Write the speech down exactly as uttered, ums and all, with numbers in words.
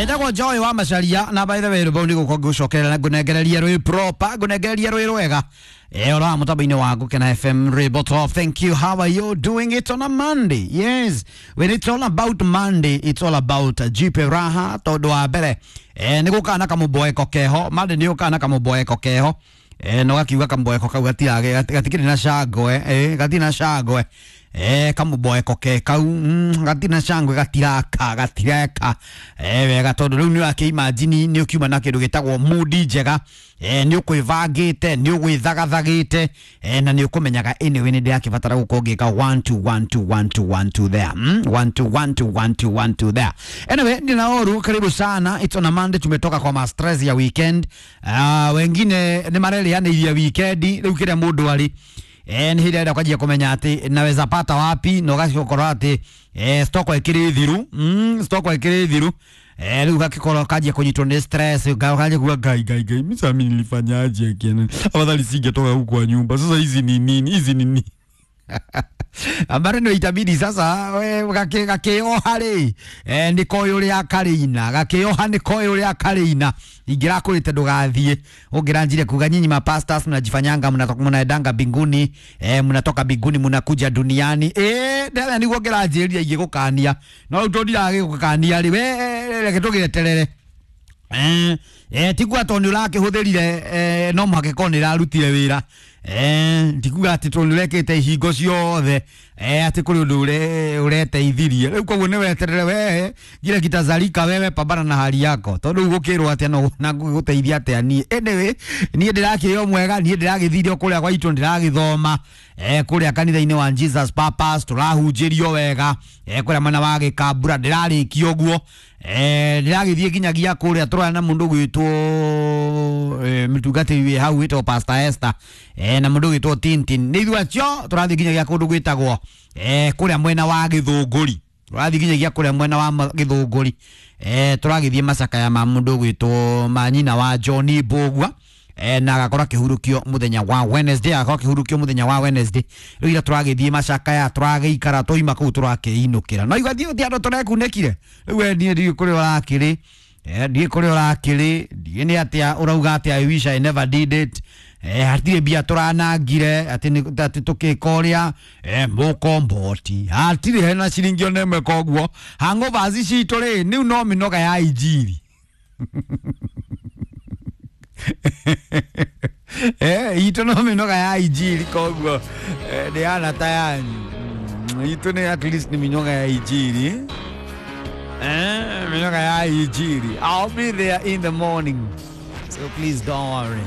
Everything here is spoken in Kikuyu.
Etagwo Joy wa Macharia na by the way rwimbo ni gukorwo ngĩgũcokerera na ngũnengereria rwĩ proper, ngũnengereria rwĩ rwega. Eh, ora mũtambo-inĩ wa Gũkena F M Rwimbo Top. Thank you. How are you doing it on a Monday? Yes, when it's all about Monday, it's all about Jipe Raha tondũ wa mbere eh, nĩ gũkaga na kamũboeko keho. Monday nĩ ũkaga na kamũboeko keho. Eh, no gakiuga kamũboeko kau gatirage gatikĩrĩ na cangwe, eh, gatirĩ na cangwe. Eh, kamũboeko ke kau mm, gatirĩ na cangwe, gatiraka gatireka eh, wega tondũ rĩu nĩ ũrakĩ-imagine nĩ ũkiuma na kĩndũ gĩtagwo mood njega. Eh, nĩ ũkwĩbangĩte, nĩ ũgwĩthagathagĩte, eh, na nĩ ũkũmenyaga anyway nĩ ndĩrakĩbatara gũkorwo ngĩka one two one two one two one two there. Mm? one two one two one two one two there. Anyway, nina oru karibu sana. It's on a Monday, tumetoka kwa ma stress ya weekend. Uh, wengine nĩ marerĩanĩirie weekend rĩu kĩrĩa mũndũ arĩ eh, nĩ hĩndĩ arenda kwanjia kũmenya atĩ naweza pata wapi na ũgakorwo atĩ eh, stock ĩkĩrĩ thiru, mm, stock ĩkĩrĩ thiru. Eh, rĩu gakĩkorwo kanjia kũnyitwo nĩ stress, kanjia kuga ngai ngai ngai, mimi sasa mimi nilifanyaje akiana, afadhali singetoka huku kwa nyumba sasa, hizi ni nini hizi ni nini? Ambare nĩ itabidi sasa we gakĩoha rĩ eh, nĩ koĩ ũrĩa karĩina, gakĩoha nĩ koĩ ũrĩa karĩina. Ingĩrakũrĩte ndũgathiĩ ũngĩranjire kuga nyinyi ma pastors mnajifanyanga mnatoka mnaendanga mbinguni, eh, mnatoka mbinguni mnakuja duniani. Eh, ndara nĩguo ngĩranjĩrĩria ingĩgũkania, no rĩu tondũ ndiragĩgũkania rĩ, we reke tũgĩeterere. Eh, eh, tikuga tondũ nĩ ũrakĩhũthĩrire, eh, no mũhaka ĩkorwo nĩ ĩrarutire wĩra. Eh, tikuga atĩ tondũ nĩ ũrekĩte ihingo ciothe, eh, atĩ kũrĩ ũndũ ũreteithirie. Rĩu koguo nĩ weterere we ngira kitazalika, wewe pambana na hali yako tondũ rĩu gũkĩrwo atĩa no na gũteithia atĩa niĩ. Anyway, niĩ ndĩrakĩrĩ o mwega, niĩ ndĩragĩthire o kũrĩa gwa itũ, ndĩragĩthoma eh, kũrĩa kanitha-inĩ wa Jesus Purpose, tũrahunjĩrio wega, eh, kũrĩa mwena wa Gĩkambura ndĩrarĩkia ũguo. Eh, ndĩragĩthiĩ nginyagia kũrĩa tũraya na mũndũ gwĩtwo eh, mũtungatĩri wĩ hau wĩtagwo Pastor Esther, eh, na mũndũ gwĩtwo Tintin. Nĩ ithuĩ acio tũrathiĩ nginyagia kũndũ gwĩtagwo eh, kũrĩa mwena wa Gĩthũngũri, tũrathiĩ nginyagia kũrĩa mwena wa Gĩthũngũri. Eh, tũragĩthiĩ macakaya ma mũndũ gwĩtwo ma nyina wa John Mbũgua, eh, na agakorwo akĩhurũkio mũthenya wa Wednesday, agakorwo akĩhurũkio mũthenya wa Wednesday. Rĩu ira tũragĩthiĩ macakaya, tũragĩikara twaima kũu tũrakĩinũkĩra, no igua thiĩ andũ tũrekunĩkire. Rĩu we niĩ ndiũĩ kũrĩa ũrakĩrĩ, eh, ndiũĩ kũrĩa ũrakĩrĩ, ndiũĩ nĩ atĩa ũrauga atĩ I wish I never did it. Eh, hatirĩ mbia tũranangire atĩ atĩ tũkĩka ũrĩa, eh, mũkomboti hatirĩ hena ciringi ona ĩmwe. Koguo hangovers citũ rĩ rĩu no mĩnoga ya injiri. Eh, itũ no mĩnoga ya injiri, koguo eh, ndĩhana ta yanyu. Itũ nĩ at least nĩ mĩnoga ya injiri. Eh, mĩnoga ya injiri. I'll be there in the morning, so please don't worry.